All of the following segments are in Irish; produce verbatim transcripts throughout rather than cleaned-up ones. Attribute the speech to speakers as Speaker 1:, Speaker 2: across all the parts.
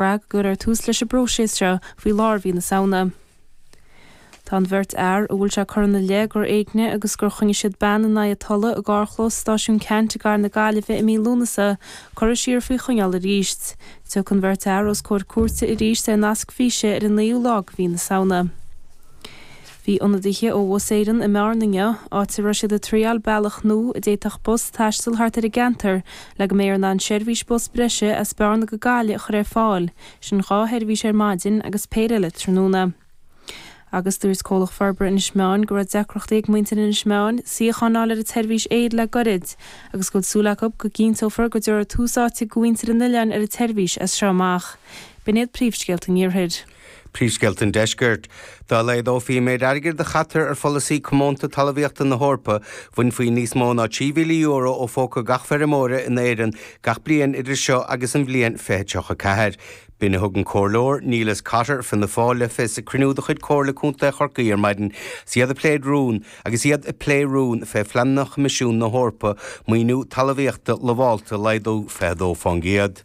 Speaker 1: Brath go gcuirfear tús leis an bpróiseas seo faoi lár mhí na Samhna. Tá an bheirt fhear a bhfuil sé curtha ina leith gur éignigh agus gur choinnigh siad bean in aghaidh a tola i gcarrchlós Stáisiún Ceannt i gcathair na Gaillimhe i mí Lúnasa curtha siar faoi choinneáil arís. Tiocfaidh an bheirt fhear os comhair cúirte arís ar nasc físe ar an naoú lá de mhí na Samhna. Bhí ionadaithe ó Bhus Éireann i mBearna inniu, áit a raibh siad ag triáil bealach nua a d'fhéadfadh bus taisteal thart ar an gceantar le go mbeifear in ann seirbhís bus breise as Bearna go Gaillimh a chur ar fáil, sin dhá sheirbhís ar maidin agus péire eile tráthnóna. Agus dúirt Comhlacht Forbartha Inis Meáin go raibh deacrachtaí ag muintir Inis Meáin suíochán a fháil ar an tseirbhís aeir le goirid agus go bhfuil súil acu go gcinnteofar go dtabharfar tús áite do mhuintir an oileáin ar an tseirbhís as seo amach. B'in iad príomhscéalta an Iarthair.
Speaker 2: Príomhscéalta an Deiscirt. Dá laghdófaí an méid airgid a chaitear ar pholasaí comónta talmhaíochta na hEorpa, bhainfí níos mó ná trí mhíle euro ó phóca gach feirmeora in Éirinn gach bliain idir seo agus an bhliain fiche tríocha ceathair. B'in a thug an Comhairleoir Neilus Cotter, Fianna Fáil, le fios ag cruinniú de chuid Comhairle Contae Chorcaí ar maidin is iad ag plé rún agus iad ag plé rún fé phleananna Choimisiún na hEorpa maoiniú talmhaíochta lamhálta a laghdú fiche dó fán gcéad.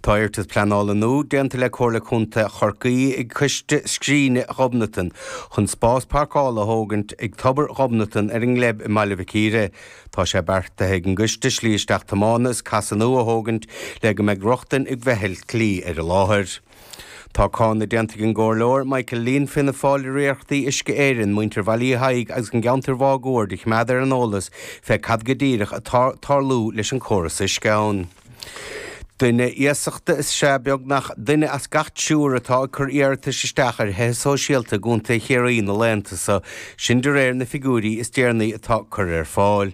Speaker 2: Tá iarratas pleanála nua déanta le Comhairle Contae Chorcaí ag Coiste Scríne Ghobnatan chun spás páirceála a thógaint ag Tobar Ghobnatan ar an nGleib i mBaile Mhic Íre. Tá sé beartaithe ag an gcoiste slí isteach tiomána is casadh nua a thógaint le go mbeidh rochtain ag feithiclí ar an láthair. Tá cáineadh déanta ag an gComhairleoir Michael Leen Fianna Fáil ar iarrachtaí Uisce Éireann, muintir Bhaile Uí Thaidhg agus an gceantar máguaird a choimeád ar an eolas fé cad go díreach atá ag tarlú leis an córas uisce ann. Duine iasachta is ea beagnach duine as gach triúr atá ag cur iarratais isteach ar thithe sóisialta i gContae Chiarraí na laethanta seo, sin de réir na figiúirí is deireanaí atá curtha ar fáil.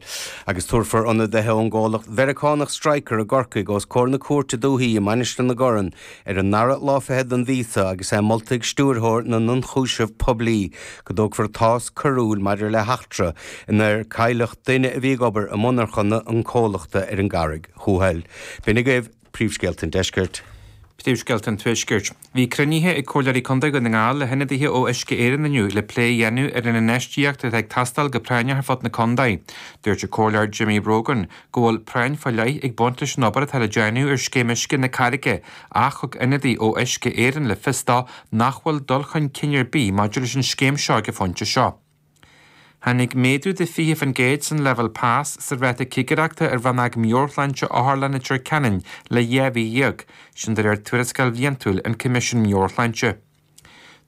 Speaker 2: Agus tabharfar ionadaithe ón gcomhlacht Mheiriceánach Stryker i gCorcaigh os comhair na Cúirte Dúichí i Mainistir na gCorn ar an ndara lá fichead den mhí seo agus é molta ag Stiúrthóir na nIonchúiseamh Poiblí go dtógfar cás coiriúil maidir le heachtra inar cailleadh duine a bhí ag obair i monarchana an chomhlachta ar an gCarraig Thuathail. B'in agaibh príomhscéalta an Deiscirt.
Speaker 3: Príomhscéalta an Tuaiscirt. Bhí cruinnithe ag Comhairleoirí Contae Dhún na nGall le hionadaithe ó Uisce Éireann inniu le plé a dhéanamh ar an infheistíocht atá ag teastáil go práinneach ar fud na contae. Dúirt an Comhairleoir Jimmy Brogan go bhfuil práinn faoi leith ag baint leis an obair atá le déanamh ar scéim uisce na Carraige ach thug ionadaí ó Uisce Éireann le fios dó nach bhfuil dul chun cinn ar bith maidir leis an scéim seo ag an phointe seo. Tháinig méadú de fiche faoin gcéad san leibhéal pas sa ráta cigireachta ar Rannóg Meabhairshláinte Otharlann Leitir Ceanainn le dhá mhí dhéag, sin de réir tuarascáil bhliantúil an Coimisiún Meabhairshláinte.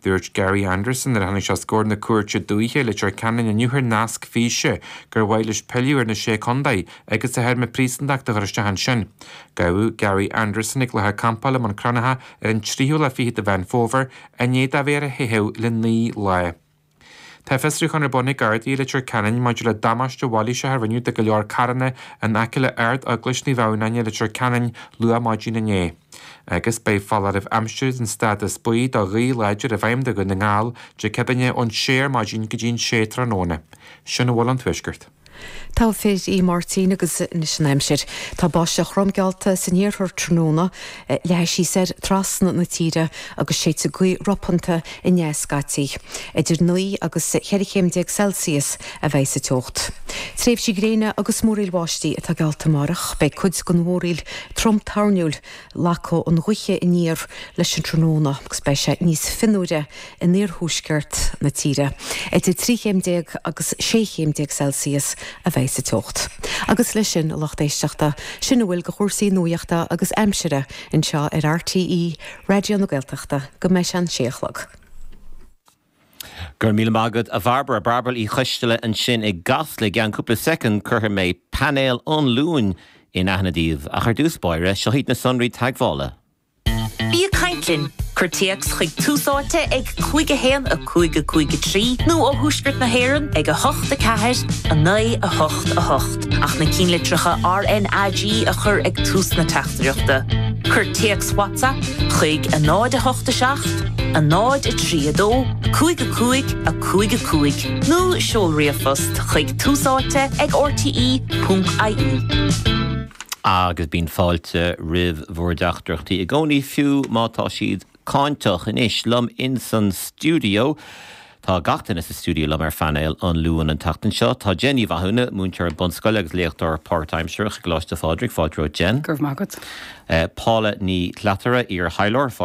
Speaker 3: Dúirt Gary Anderson nuair a tháinig sé os comhair na Cúirte Dúiche Leitir Ceanainn inniu ar nasc físe gur mhaith leis pilleadh ar na Sé Contae agus a théarma príosúntachta a chur isteach ansin. Gabhadh Gary Anderson ag láthair campála i mBun Cranncha ar an tríú lá fichead de Mheán Fómhair i ndiaidh dó a bheith ar a theitheadh le naoi lá. Tá fiosrúchán ar bun ag Gardaí i Leitir Ceanainn maidir le damáiste mhailíseach a rinneadh do go leor carranna in aice le Ard-Eaglais Naomh Adhamhnáin i Leitir Ceanainn luath maidin inné. Agus beidh foláireamh aimsire den stádas buí do ghaoth láidir i bhfeidhm do Dhún na nGall Dé Céadaoine ón sé ar maidin go dtí an sé tráthnóna. Sin a bhfuil ón Tuaisceart.
Speaker 4: Togha fir í Máirtín agus anois an aimsir. Tá báisteach throm geallta san iarthar tráthnóna, leathfaidh sí soir trasna na tíre agus séidfidh gaoth ropanta aneas scaití. Idir naoi agus cheithre chéim déag Celsius a bheidh sa teocht. Tréimhsí gréine agus múraíl bháistí atá geallta amárach. Beidh cuid den mhúraíl trom toirniúil. Lagóidh an ghaoth aniar leis an tráthnóna agus beidh sé níos fionnuaire in iarthuaisceart na tíre. Idir trí chéim déag agus sé chéim déag Celsius a bheidh sa teocht. Agus leis sin, a lucht éisteachta, sin a bhfuil de chúrsaí nuachta agus aimsire anseo ar RTÉ Raidió na Gaeltachta go mbeidh sé an sé a chlog.
Speaker 5: Go raibh míle maith agat a Bhairbre Bairbre Uí Choisteala ansin i gCasla i gceann cúpla soicind cuirfidh mé painéal an Luain in aithne daoibh ach ar dtús báire seo iad na sonraí teagmhála.
Speaker 6: Bí ag caint linn! Cuir téacs chuig Tús Áite ag cúig a haon a cúig a cúig a trí nó ó Thuaisceart na hÉireann ag a hocht a ceathair a naoi a hocht a hocht ach na cinnlitreacha RnaG a chur ag tús na teachtaireachta. Cuir téacs WhatsApp chuig a náid a hocht a seacht, a náid a trí a dó, cúig a cúig a cúig a cúig nó seol ríomhphost chuig tús áite ag rte ponc ie.
Speaker 5: Agus bíonn fáilte roimh bhur dteachtaireachtaí i gcónaí fiú má tá siad cáinteach anois liom in san stiúideo. Tá gach duine sa stiúideo liom ar phainéal an Luain an tseachtain seo, tá Jen Ní Mhathúna, múinteoir bunscoile agus léachtóir páirtaimseartha i gColáiste Phádraig, fáilte romhat Jen.
Speaker 7: Go raibh maith agat.
Speaker 5: Uh, Paula Ní Chleatara iar-thaidhleoir fáilte